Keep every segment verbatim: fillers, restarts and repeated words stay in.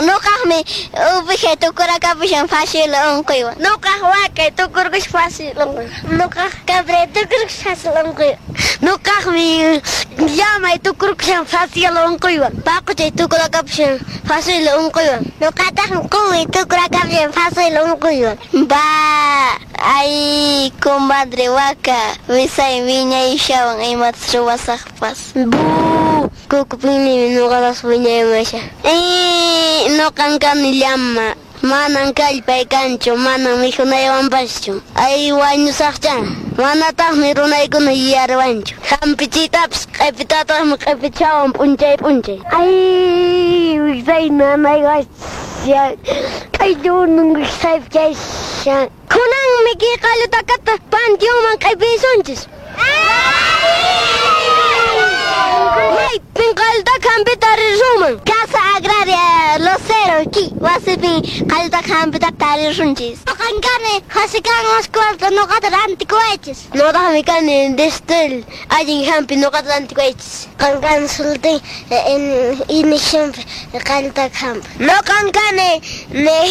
Nuqaqmi uwihay tukurakapushan fácil unquywan. Nuqaq wakay tukurkush fácil unquywan. Nuqaq cabray tukurkush fácil unquywan. Nuqaqmi llamay tukurkushan fácil unquywan. Paquchay tukurakapushan fácil unquywan. Nuqataqmi quwi tukurakapushan fácil unquywan. Ba, ay, comadre waka, wisay wiñayshawan imatas ruwasaqpas. Bu, kukupinmi nuqapas wiñaymasha. Eh, nuqan kani llama. Manan kallpay kanchu, manan mikhunaywanpaschu. Ay, wañusaqcha. Manataqmi runaykuna yuyariwanchu. Hampichiytapas q'ipitataqmi q'ipichawan p'unchay p'unchay. Ay, wiksay nanaywashan. K'ayllunan wiksaypi kayshan. Kunanmi kay qallutakata panteonman q'ipisunchis. Maypin qallutaka hampita tarisunman? Casa Agraria Lucero, ki wasipin qallutaka hampita tarisunchis. Nuqan kani Josican Oscualta nuqata rantikuwaychis. Nuqataqmi kani Destel allin hampi nuqata rantikuwaychis. Nuqan kani Sultín Inishunpi qallutaka hampi. Nuqan kani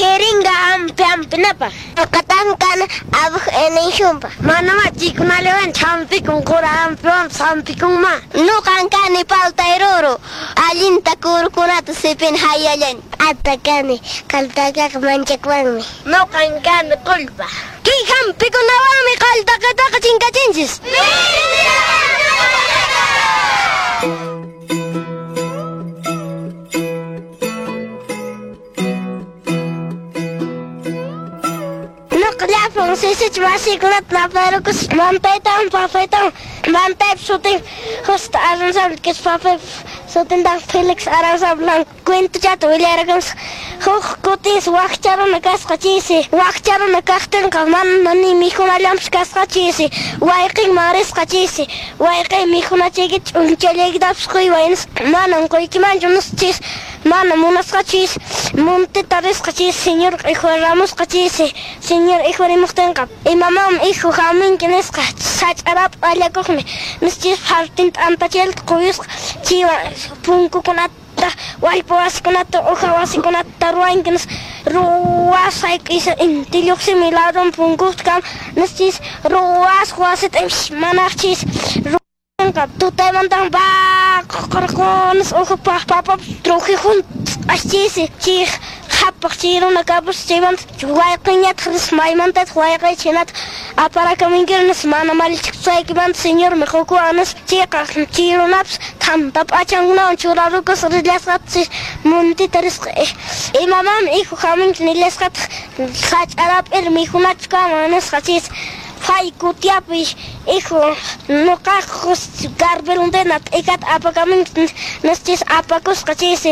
jeringa hampi hampinapaq. Nuqataqmi kani abuj Inishunpaq. Manamá chaykunallaywanchu hampikun, qura hampiwanpas hampikunma. Nuqan kani paltayruru, allinta kurukunata sipin hayallani. Ata kani qallutakaqa manchakuwanmi. Nuqan kani qullpa. Kay hampikunawanmi qallutakataqa chinkachinchis. Nuqa llapan sisich masiykunata napayrukus mantaytawan papaytawan mantaypa sutin Justo Aranzabal que es papaypa sutintaq Felix Aranzabal cuentochata willarakamusqa. Huk kutinsi wakcha runa kasqa chaysi wakcha runa kaqtinqa mana ni mikhunallanpas kasqa chaysi wayqinman risqa chaysi wayqin mikhunachaykita ch'unchallaykitapas quyway nispa manan quykimanchu nispa chaysi mana munasqa chaysi monteta risqa chaysi señor ikhwaramusqa chaysi señor ikhwarimuqtinqa imamanmi hijo hamunki nisqa sach'arapa allakuqmi nispa chaysi fartinta t'antachalta quyusqa chaywan punkukunata wallpa wasikunata uha wasikunata ruwanki nispa ruwasayku isa inti lluqsimi ladun punkukta kama nispa chaysi ruwasqa wasita manaq chaysi tutaymantan baqurqunis uhu papapas trujijun chaysi chay qhapaq chay runa kapus chaymanta wayqinñataq risqa maymantataq wayqiychik hinataq aparakamunkiri nispa mana malichikusaykimanta señormi qukuwan nispa chayqa chay runapas thanta p'achankunawan churarukusqa rillasqataq monteta risqa imamanmi hijo hamunki nillasqataq sach'arap'iri mikhunachu kanman nisqa chaysi pay kutiapi hijo nuqaq garbelundena t'ikata apakamunki nispa apakusqa chaysi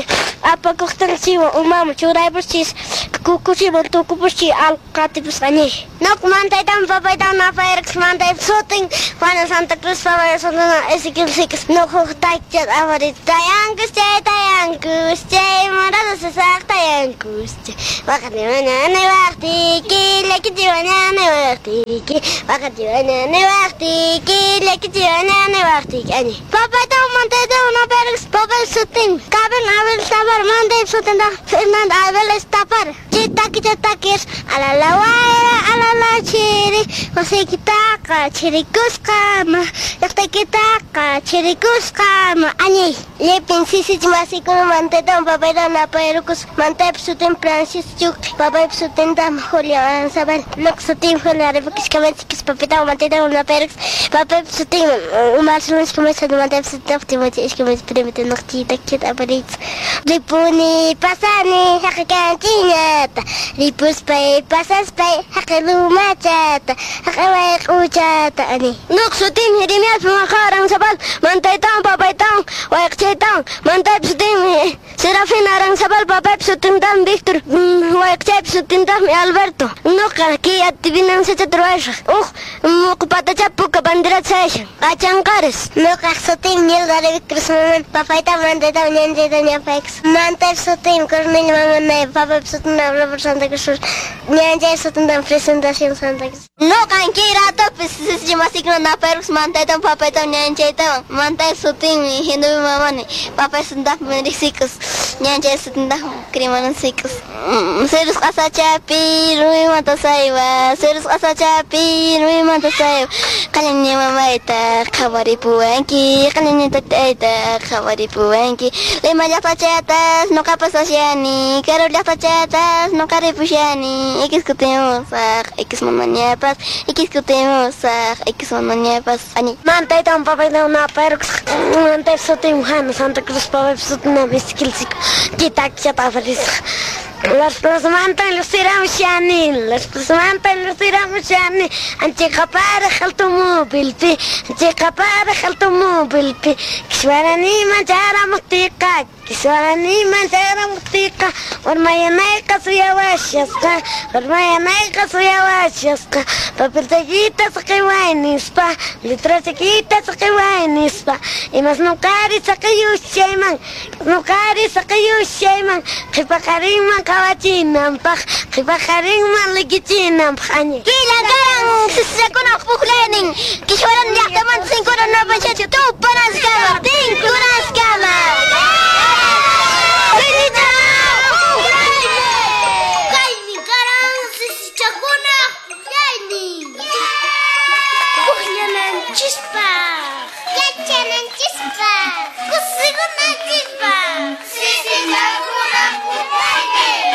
apakuqtinqa chaywan umaman churaypus chaysi kukuchiman tukupus chay allqu qatipusqa ñay. Nuqa mantaytawan papaytawan napayrukus mantaypa sutin Juana Santa Cruz papaypa sutin Ezequiel Siques. Nuqa huk takichata apariyta tayankus chay tayankus chay morado sasaq tayankus chay waqati mañana waqtiki llakichi mañana waqtiki waqati mañana waqtiki llakichi mañana waqtiki añi. Papaytawan mantaytawan napayrukus papaypa sutin Kabin Abel Tapar mantaypa sutintaq Fernando Abel Tapar. Chay takicha takis alala wayra alala chiri wasiykitaqa chirikusqa llaqtaykitaqa chirikusqa añay. Llapin sisich masiykuna mantaytawan papaytawan napayrukus mantaypa sutin Francisco Chuqi papaypa sutintaq Julio Aranzabal. Nuqa sutin Julio Arevalo Kamachikus papaytawan mantaytawan napayrukus papaypa sutin Omar Solís Camacho mantaypa sutintaq Timoteo Ishkamachi primita nuqa chay takichata apariychis. Ripuni pasani haqay kanchiñata ripuspay pasaspay haqay lumachata haqay wayq'uchata ani. Nuqa sutinmi Jeremias Maja Aranzabal mantaytawan papaytawan wayqchaytawan mantaypa sutinmi Serafín Aranzabal papaypa sutintaqmi Víctor wayqchaypa sutintaqmi Alberto. Nuqa kay adivinanzachata ruwasaq huk muqu patachapi puka banderata sayashan qachanqaris. Nuqaq sutinmi Nilda Cruz papaytawan mantaytawan ñanchaytawan ñapaykus mantaypa sutinmi Cornelio Mamanay papaypa sutintam Robert Santa Cruz ñanchaypa sutintam Presentación Santa Cruz. Nuqan kay ratupis sisicha masikuna napayrukus mantaytawan papaytawan ñañanchaytawan. Mantay sutinmi Genoveva Mamani, papay sutintaqmi riqsikus, ñañanchay sutintaqmi Crimanan sikus. Sirus q'asachapi rumimanta saywa, sirus q'asachapi rumimanta saywa. Qallanña mamayta qhawaripuwanki, qallanña tatayta qhawaripuwanki. Lima llaqtachatas nuqapas ashani, karu llaqtachatas nuqa ripushani. Ikis kutimusaq, ikis mamañapas, ikis kutimusaq, ikis mamañapas. Ani. Mantaytawan papaytawan napayrukusaq. Mantaypa sutinmi Juana Santa Cruz, papaypa sutinmi Ezequiel Sico. Kitakchata aparisaq. Las plasmantan lluqsiramushani, las plasmantan lluqsiramushani. Anchiqaparaq automóvilpi, anchiqaparaq automóvilpi. Kiswaraniman chayaramuqtiyqa, kiswaraniman chayaramuqtiyqa. Warmayanayqa suyawashasqa, warmayanayqa suyawashasqa. Papelchaykita saqiway nispa, letrachaykita saqiway nispa. Imas nuqari saqiyushayman, nuqari saqiyushayman. Qhipaqarinman qhawachinanpaq, qhipaqarinman likichinanpaq. Añi. Killa karan sisichakunaq puklaynin, Kiswaran llaqtamanta sinkuna napachachu tupanaskama, tinkunaskama. Kaymi karan sisichakunaq puklaynin. Pukllananchispaq, yachananchispaq, kusikunanchispaq. Sisichakunaq puklaynin.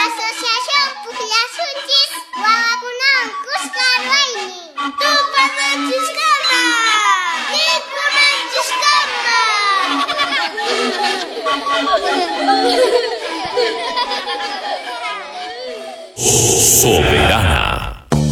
Asociación Pukllasunchis wawakunawan kuska ruwaynin. Tupananchiskama, tinkunanchiskama. Soberana.